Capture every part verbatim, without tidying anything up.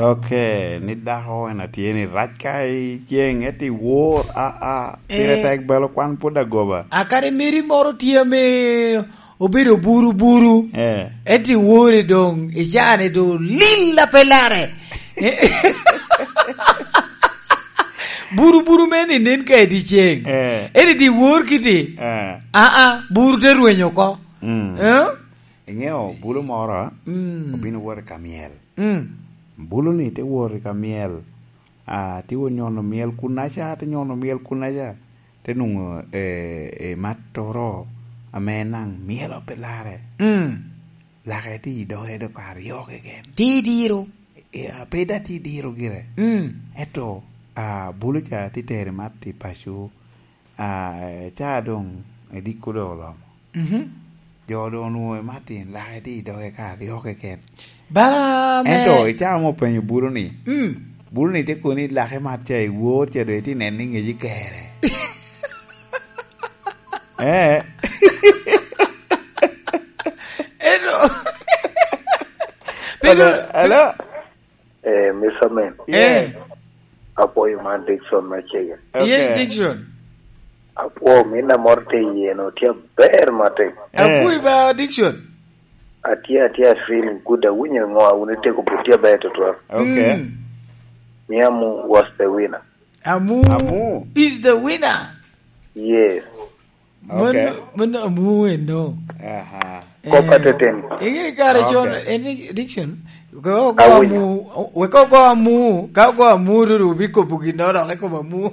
Ok, ni dako en atye ni rac ka i ceng, eti wor, a, a, pire Eh. tek belo kwan pwod agoba. A kare meri moro tye ame obedo buru buru. Eh. Eti wore doŋ, i caa-ni doŋ lil a pe lare. Buru buru me ni nen ka i dyeceŋ. Eh. Eti di wor kiti. Eh. A, a, buru te rwenyo oko. Mm. Eh? Iŋeo bulu moro, Mm. obino wot i ka myel. Mm. Bulu-ni te wot i ka myel. Ah, te wot nyono myel kunnaca, te nyono myel kunnaca. Te nwoŋo, eh, eh, mattoro ame naŋ myelo pe lare. Mm. Lake te i doge dok aryo keken. Te i diro. Eh, ah, pe da te i diro gire. Mm. Ento, ah, bulu ca te tero i mat i paco. Ah, ca doŋ ediko doŋ olomo. Mhm. Jo doŋ onwoŋo i Martin, lake tye i doge ka aryo keken. Bara me Ento i caa mo openyo bulu ni, Mm. bulu ni te koni lake mat ca i wor ca doŋ itye neno ni ŋeci kere. Eh. Eno. Hello, hello. Eh, Mister Men. Yeah. Eh. Apwoyo man Dickson me Chege. Okay. Yes, Dickson. Apwo, min amor te yeno, tye aber matek. Eh. Apwoyo ba, Dickson. Atye, atye, I feeling good. Awinyo ŋo, awinyo tego but tye aber tutwal. Okay. Mm. Miamu was the winner. Amu Amu. is the winner. Yes. Okay. Mano, mano amu eno. Aha. Kop Eh, ateten. Inge kare con, Okay. En ni, Dickson, ka ogo Awinyo. amu, wek ogo amu, ka ogo amu, ruru bikopo gin dok i kom amu.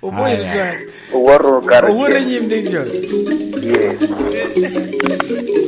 Oboyo Aya. tutwal. Owoto kare Owoto cen. i nyim, Dickson. Yes.